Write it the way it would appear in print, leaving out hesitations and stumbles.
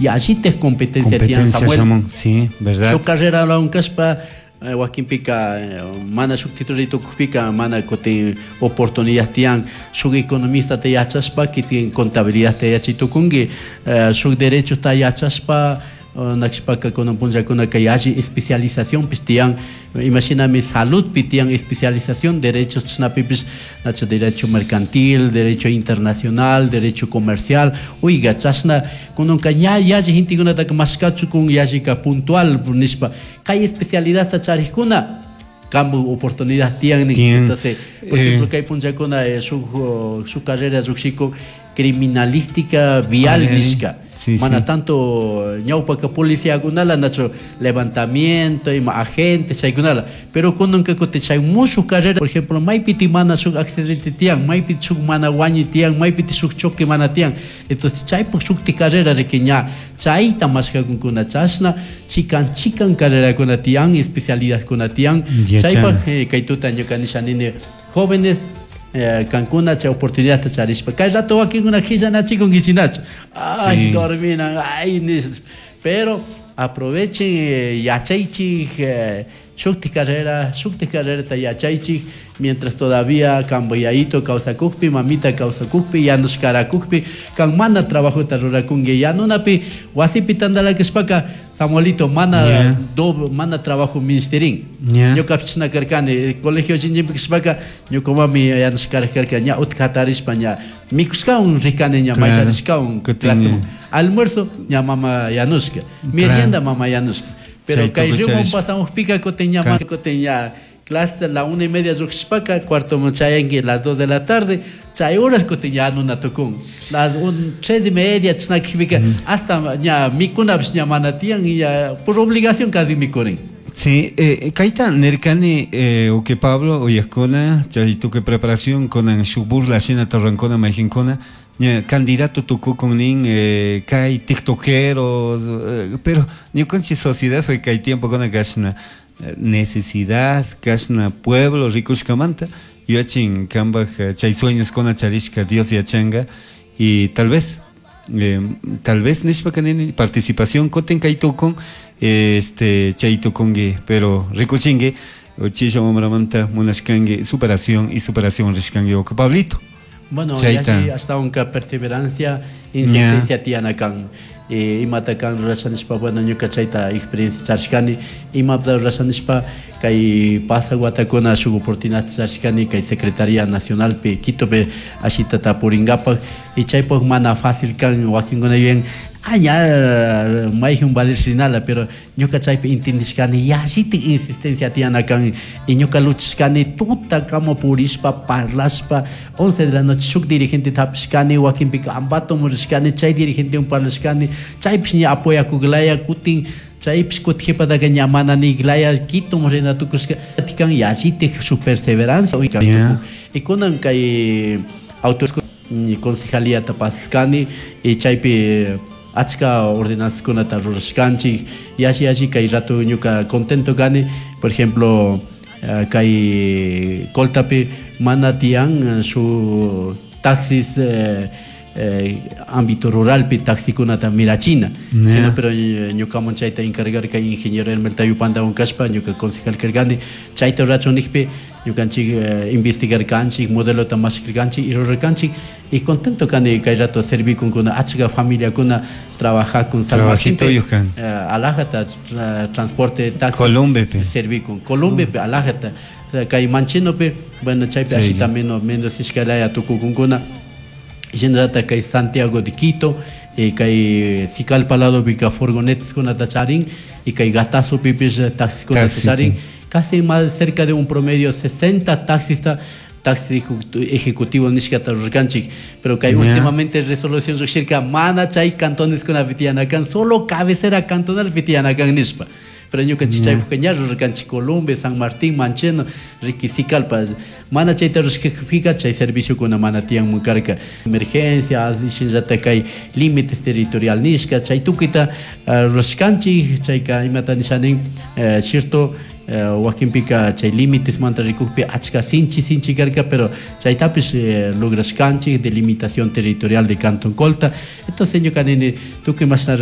Yallitaj competencia tiyan, Competencia Samuel. shamun, sí, verdad. Shuk carrera kashpa wakinpika mana shuk título tukukpika mana kutin oportunidad tiyan. Shuk economista ta yachashpa kitin contabilidad ta yachay tukunki, shuk derecho ta yachashpa nakshpaka kunan punllakunaka yalli especializacionpish tiyan. Imashinami saludpi tiyan especialización, derechos chashnapipish, nacho derecho mercantil, derecho internacional, derecho comercial. Oiga, chashna kunanka ña yalli gentekunataka mashkachukun yallika puntual nishpa kay especialidad ta charikuna cambio oportunidad tiyan nin. Tiyan. Entonces, por ejemplo, kay punllakuna shuk carrera lluqshikun criminalística vial nishka. Mana tanto ñawpaka policiakunala nacho levantamiento ima agente chaykunala, pero kunanka kutin chay mushuk carrera, por ejemplo, maypiti mana shuk accidente tiyan, maypiti shuk mana wañuy tiyan, maypiti shuk choque mana tiyan. Entonces chaypuk shukti carrera riki ña chayta mashkakunkuna. Chashna chikan chikan carrerakuna tiyan, especialidadkuna tiyan. Yachan. Chaypak kay tuta ñuka nisha nini, jóvenes, kankuna chay oportunidad charishpa kay rato wakinkuna qhillanachikunkichinachu, ay, dorminan, ay, nish, pero aprovechen, yachaychik, shukti carrerata yachaychik mientras todavía kamboyayito kawsakukpi, mamita kawsakukpi, yanushkarakukpi, kan mana trabajota rurakunki yanunapi wasipi tantalakashpaka, Samuelito, mana doble, mana trabajo ministerin. Ñuka chashna karkani, colegio chinchimpi kashpaka ñuka mami yanushkara karka, ña utka hatarishpa ña mikushkawan rikani, ña mayllarishkawan Kutin, claseman. Almuerzo ña mama yanushka, merienda mama yanushka. Pero Chay kay tukuy río charishpa. pasamukpika kutin ña kutin ña clase la 1:30 lluqshishpaka cuarto chayanki las 2 de la tarde, chay horas kutin ña nuna tukun las 3:30 chashnakikpika hasta ña mikunapish ña mana tiyan, ña por obligación casi mikurin. Sí, kayta nirkani, uke Pablo, uyajkuna, chay tukuy preparación kunan shuk burla shina tarrankuna mayjinkuna, ña candidato tukukun nin, kay tiktokeros, pero ñukanchik sociedad soy kay tiempo kuna kashna, necesidad, kashna pueblo rikushkamanta, yachin kambaj, chay sueños kuna charishka Dios yachanga, y tal vez nishpa kanini participación kutin kay tukun, chay tukungi, pero rikuchingi, chisha mamramanta munashkangi superación y superación rishkangi uka Pablito. Bueno, Chayta. yalli hasta unka perseverancia, insistencia tiyana kan. Imata kan rurashanishpa, bueno, ñuka chayta experiencia charishkani, imata rurashanishpa kay pasa watakuna shuk oportunidad charishkani kay Secretaría Nacionalpi Quitopi ashita tapuringapak, y chaypuk mana fácil kan, wakinkuna yuyan, ah, ña, mayjun valershinala, pero ñuka chaypi entendishkani yallitik insistencia tiyana kan, y ñuka luchishkani tuta kama purishpa parlashpa 11 de la noche shuk dirigente tapishkani, wakinpika Ambato murishkani chay dirigente un parlashkani, chaypish ña apoyakuglaya kutin chaypish kutijipataka ña mana niglaya Quito murina tukushka tikan yallitik shuk perseverancia Y kunan kay autor concejalía pascani y chaypi achka ordenanzkunata rurashkanchik, yalli yalli kay rato ñuka contento kani, por ejemplo, kay Coltapi mana tiyan su taxis, ámbito ruralpi taxikunata mirachina. Sino, pero ñukaman chayta encargar kay ingeniero Hermel Tayupanda kashpa ñuka concejal karkani chayta rurachun nikpi ñukanchik, investigar kanchik, modelota mashkirkanchik y rurarkanchik, y contento kani kay rato servikunkuna achka familiakuna trabajakun San Martín Trabajito yujkan. Alajata transporte taxi Columbepe. servikun Columbepe alajata, o sea, kay Manchenope, bueno, chaypi ashita menos menos ishkalaya tukukunkuna. Shinallata kay Santiago de Quito, kay Sicalpa lado pika furgonetas kunata charin, y kay Gatazo pipis taxi kunata Taxi, charin. sí. Casi más cerca de un promedio 60 taxistas, taxi ejecutivo nishkata rurkanchik, pero kay últimamente resolución lluqshirka mana chay cantones kuna pitianakan, solo cabecera cantonal pitianakan nishpa. Pero ñukanchik chaypukka ña rurkanchik Columbe, San Martín, Mancheno, Riqui, Sicalpa, mana chayta rurashkakpika chay servicio kuna mana tiyanmun karka. Emergencia, shinallata kay límites territorial nishka, chay tukuyta, rurashkanchik, chayka imata nishanin, cierto, wakinpika chay límites manta rikukpi achka sinchi sinchi karka, pero chaytapish, lograshkanchik delimitación territorial de Cantón Colta. Entonces ñuka nini tukuy mashna